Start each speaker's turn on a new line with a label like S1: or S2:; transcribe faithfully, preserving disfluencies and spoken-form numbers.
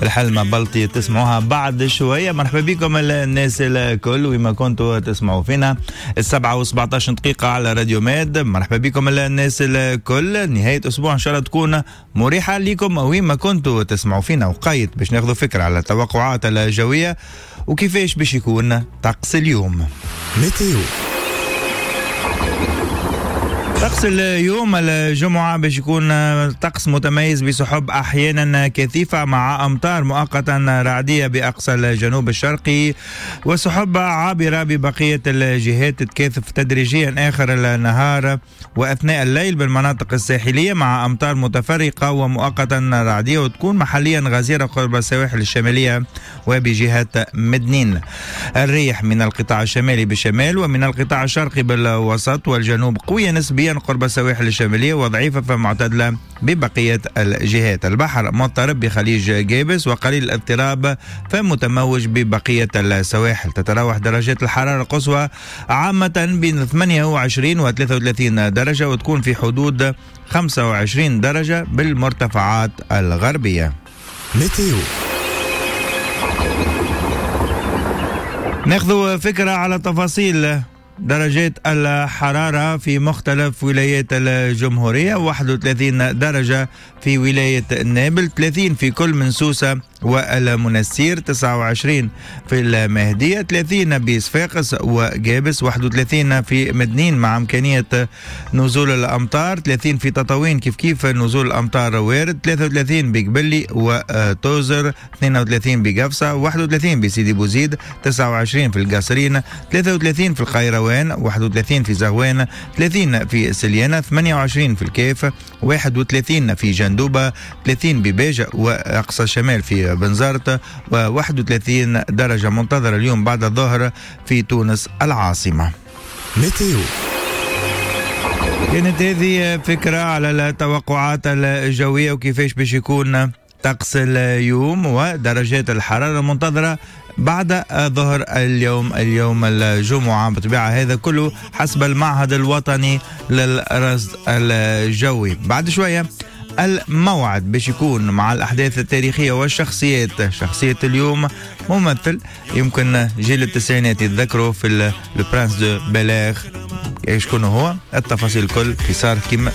S1: الحلمة بلطي تسمعوها بعد شوية. مرحبا بكم الناس الكل وما كنتوا تسمعوا فينا السبعة وسبعتاش دقيقة على راديو ماد. مرحبا بكم الناس الكل، نهاية أسبوع إن شاء الله تكون مريحة لكم وما كنتوا تسمعوا فينا. وقيت باش ناخذوا فكرة على التوقعات الجوية وكيفاش باش يكون طقس اليوم.
S2: météo
S1: طقس اليوم الجمعة باش يكون طقس متميز بسحب أحيانا كثيفة مع أمطار مؤقتا رعدية بأقصى الجنوب الشرقي وسحب عابرة ببقية الجهات تتكاثف تدريجيا آخر النهار وأثناء الليل بالمناطق الساحلية مع أمطار متفرقة ومؤقتا رعدية وتكون محليا غزيرة قرب السواحل الشمالية وبجهة مدنين. الريح من القطاع الشمالي بالشمال ومن القطاع الشرقي بالوسط والجنوب قوية نسبيا قرب السواحل الشمالية وضعيفة فمعتدلة ببقية الجهات. البحر مضطرب بخليج جابس وقليل الاضطراب فمتموج ببقية السواحل. تتراوح درجات الحرارة القصوى عامة بين ثمانية وعشرين و ثلاثة وثلاثين درجة وتكون في حدود خمسة وعشرين درجة بالمرتفعات الغربية.
S2: météo
S1: ناخذ فكرة على تفاصيل درجات الحرارة في مختلف ولايات الجمهورية. واحد وثلاثين درجة في ولاية نابل، ثلاثين في كل من سوسة والمنسير، تسعة وعشرين في المهدية، ثلاثين بصفاقس وجابس، واحد وثلاثين في مدنين مع إمكانية نزول الأمطار، ثلاثين في تطاوين كيف كيف نزول الأمطار وارد، ثلاثة وثلاثين بقبلي وتوزر، اثنين وثلاثين بقفصة، واحد وثلاثين بسيدي بوزيد، تسعة وعشرين في القصرين، ثلاثة وثلاثين في القيروان، واحد وثلاثين في زغوان، ثلاثين في سليانة، ثمانية وعشرين في الكيف، واحد وثلاثين في جندوبة، ثلاثين بباجة وأقصى الشمال في بنزرت، وواحد وثلاثين درجة منتظرة اليوم بعد الظهر في تونس العاصمة.
S2: météo
S1: كانت هذه فكرة على التوقعات الجوية وكيفاش باش يكون طقس اليوم ودرجات الحرارة المنتظرة بعد ظهر اليوم اليوم الجمعة. بطبيعة هذا كله حسب المعهد الوطني للرصد الجوي. بعد شوية الموعد باش يكون مع الأحداث التاريخية والشخصيات. شخصية اليوم ممثل يمكن جيل التسعينات يتذكروا في Le Prince de Bel-Air، شكون هو؟ التفاصيل الكل في صار كيما